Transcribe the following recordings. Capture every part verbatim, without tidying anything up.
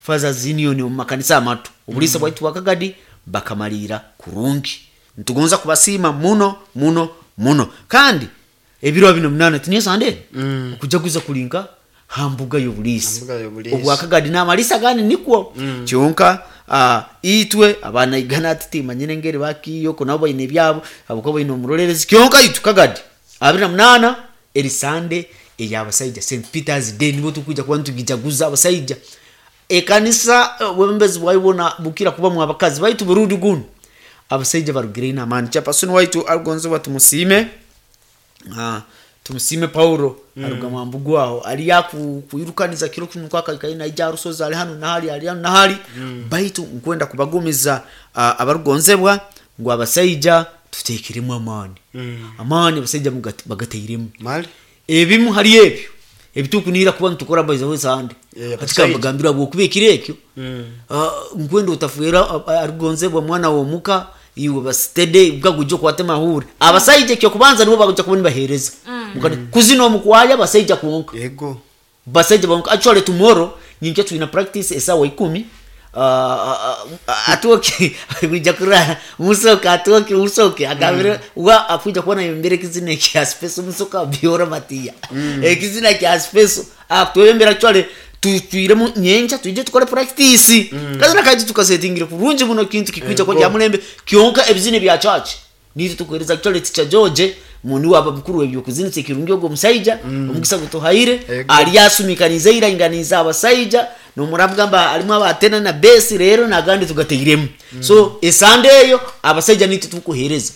Fathers Union omu makanisa amato, obuliisa bwaitu bwa Kagadi bakamaliira kurungi. Nitugonza kubasiima muno muno muno. Kandi ebiro abiri na munaana, tiniyo Sande, Mm. okujaguza kuli nka ha mbuga y'obuliisa Mbuga y'obuliisa. obwa Kagadi n'amaliisa agandi nikwo. Mm. Kyonka ah, itwe abanaigana titimanyire engeri bakiiyoko, nabo baine ebyabo habwokuba baine omurolerezi. Kyonka itwe Kagadi abiri na munaana, eri Sande ey'abasaija, Saint Peters Day, nibwo tukwija kuba nitugijaguza abasaija. Ekanisa obwebembezi bwayo bwona bukira kubamu abakazi, baitu burundi gunu abasaija barugireyo n'amaani. Chairperson waitu arugonzebwa tumusiime, Ah, tumusiime Paulo. mm. Aruga Mwambugu aho ali aku kwirukaniza kiro kinu kwaka naija arusozi, ali hanu nahali, ali hanu nahali. mm. Baitu nkwenda kubagumiza uh, abarugonzebwa ngu abasaija tutekeremu amaani. Mm. Amaani abasaija mugat- bagateiremu. Mali. Ebimu hali ebyo ebitukunira kuba nitukora baizaho Sande. Eh, hati abasaija. kambagambira bwokuba ekiro ekyo, Mm. Ah, nkwenda otafuera arugonzebwa mwana womuka, iwe basitede bwaguja okwate mahure. Abasaija ekyokubanza nibo bakuja kuba nibahereza. Mukati kuzina omukwaya abasaija kwonka. Yego. Basaija bonka. Actually tomorrow, nyinkya, twina practice esawa ikumi. Ah, ah, atoke kuja kurara musoke, atoke musoke agambire wa akuja kuba nayembera ekizina ekya special, musoka biora matiya, ekizina kya special atwembera. Actually tutwiremu nyenja twije tukore practice kazina kaji tukasetingire kurungi muno, kintu kikwija kwa Ego. kya mulembe. Kyonka ebizina bya church nitwe tukuhereza. Actually Teacher George muni waba mukuru w'ebyokuzinisa ekirungi, ogwo omusaija omugisa gutuhaire. Ego. Ali asumikaniza iranganiza abasaija nomurabugamba alimu abatena na besi rero nagandi tugateiremu. So esande eyo abasaija nitwe tukuhereza.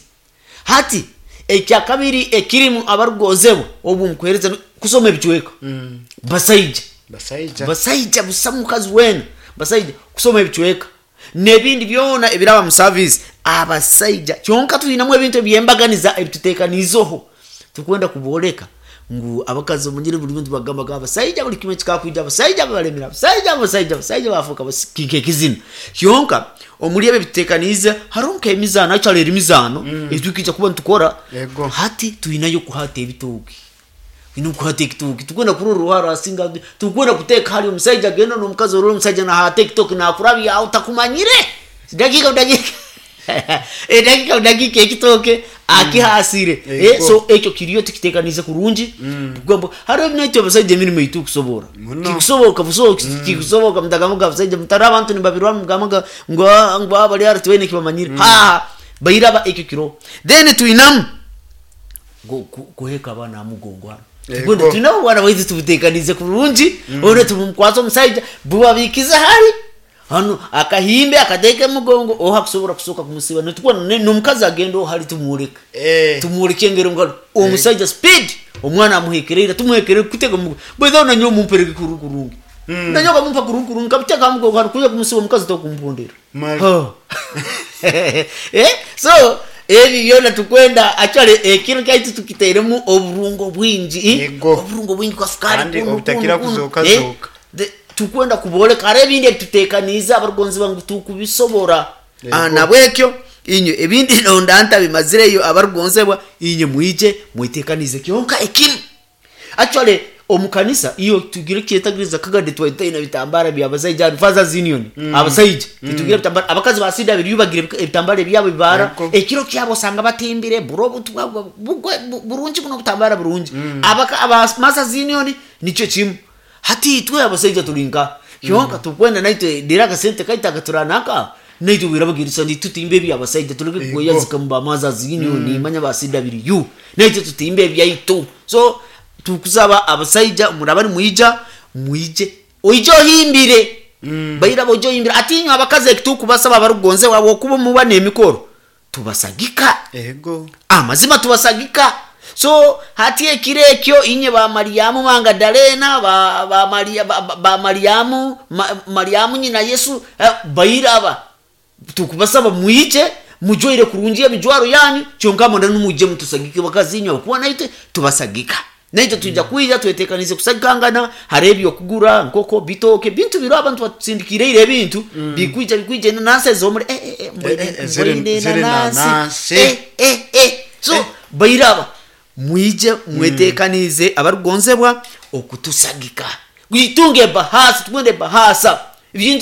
Hati ekyakabiri ekirimu, abarugozebwa, obu mukuhereza kusoma ebicweka. Mm. Basaija. Basaija. Basaija busa mukazi wena, basaija kusoma ebicweka nebindi byona ebiraba mu service abasaija. Kyonka twinamu ebintu ebyembaganiza ebitutekaniizeho, tukwenda kuboleka ngu abakazi omanyire buli bintu bagambaga abasaija, buli kimwe kikakwija abasaija babalemera, abasaija, abasaija, abasaija bafuuka kinka ekizina. Kyonka omuli ebyo ebitutekaniize hariho nk'emizaano, actually eri mizaano etwikija kuba nitukora. Yego. Hati twinayo kuhata ebitooki, twina kuhata ekitooki, tukwenda kurora oruharo asinga, tukwenda kuteeka hali omusaija agenda n'omukazi, orora omusaija nahata ekitooki nakurabya aho takumanyire, dakika dakika edakika dakika ekitooke akihasire. Eh, Yego. so ekyo kiriyo tukitekanize kurungi. Kugamba hariho ebinaitwe abasaija emirimu eitu kusobora. Muno. Kikusoboka busoboka, kikusoboka mutagamuga abasaija mutari abantu nibabirwa mugamaga ngo ngo bali ari tibaine kibamanyire ha bairaba ekyo kiro. Then twinamu go- ku- kuheka abaana amugongo hano. Yego. Tukwenda twinamu obwana bwaitu tubutekanize kurungi, one tubumukwasa omusaija bubabikize hali hano akahimbe akateeka emugongo oha kusobora kusoka kumusiba netukubona n'omukazi agenda ohali tumwoleka. Eh. Tumwoleke engeri ngalo omusaija speed omwana amuhekereire, tumuhekerere kutega mugongo bwetha nanyo mumpereke kuru kurungi, nanyo kamumpa kurungi kurungi kabuteka mugongo hano kuya kumusiba omukazi tokumpondera. Mali. Oh. Eh, so ebi byona tukwenda, actually ekiro kyaitu tukiteiremu oburungo bwingi, eh? Yego. Oburungo bwingi kwa sukari. Kandi kunu, obutakira kunu, kunu. kuzooka Eh, zooka. de- tukwenda kuboleka hari ebindi ebitutekaniize abarugonzi bangu tukubisobora. Yego. Ah, nabwekyo inywe ebindi nonda ntabimazireyo, abarugonzebwa inywe mwije mwitekanize. Kyonka ekimu, actually omukanisa iyo tugire kyetagiriza Kagadi twaitaina bitambara bya basaija hano, Fathers Union. Abasaija titugira bitambara, abakazi basida biri bagire ebitambara ebyabo bibara. Yego. Ekiro kyabo osanga batimbire buro obutu bwabwo bugwe- bu- burungi buno butambara burungi. Abaka aba Masters Union nikyo kimu. Hati itwe abasaija tulinka kyonka tukwenda naitwe dira akasente kaita katuranaka naitwe wirabagirisa nitutimba ebyabasaija, tuleke Yego. kweyazika mu ba Masters Union, manya ba C W, naitwe tutimba ebyaitu. So tukusaba abasaija muraba nimwija, mwije oije ohimbire bairaba, oije ohimbire. Atinywe abakazi ekitukubasaba abarugonze wabwe okuba muba n'emikoro tubasagika. Ego. Amazima tubasagika. So hati ekiro ekyo inye ba Mariamu Mangadalena, ba, ba, Maria, ba, ba- ba Mariamu ma, Mariamu nyina Yesu, eh, bairaba tukubasaba mwije mujwaire kurungi emijwaro yanyu, kyonka mwenda nimwije mutusagike bakazi inywe kuba naitwe tubasagika, naitwe tuija kwija twetekanize kusagikangana. Hari ebyokugura nkoko bitoke bintu biro abantu batusindikireire ebintu bikwija bikwija enanasi ezomuri eh, eh, eh, mbwine- Eh, eh, ziri- mbwine ziri enanasi. nanasi. Eh, eh, eh. So bairaba mwije mwetekanize abarugonzebwa okutusagika, witunge bahasa, tugende bahasa ebintu.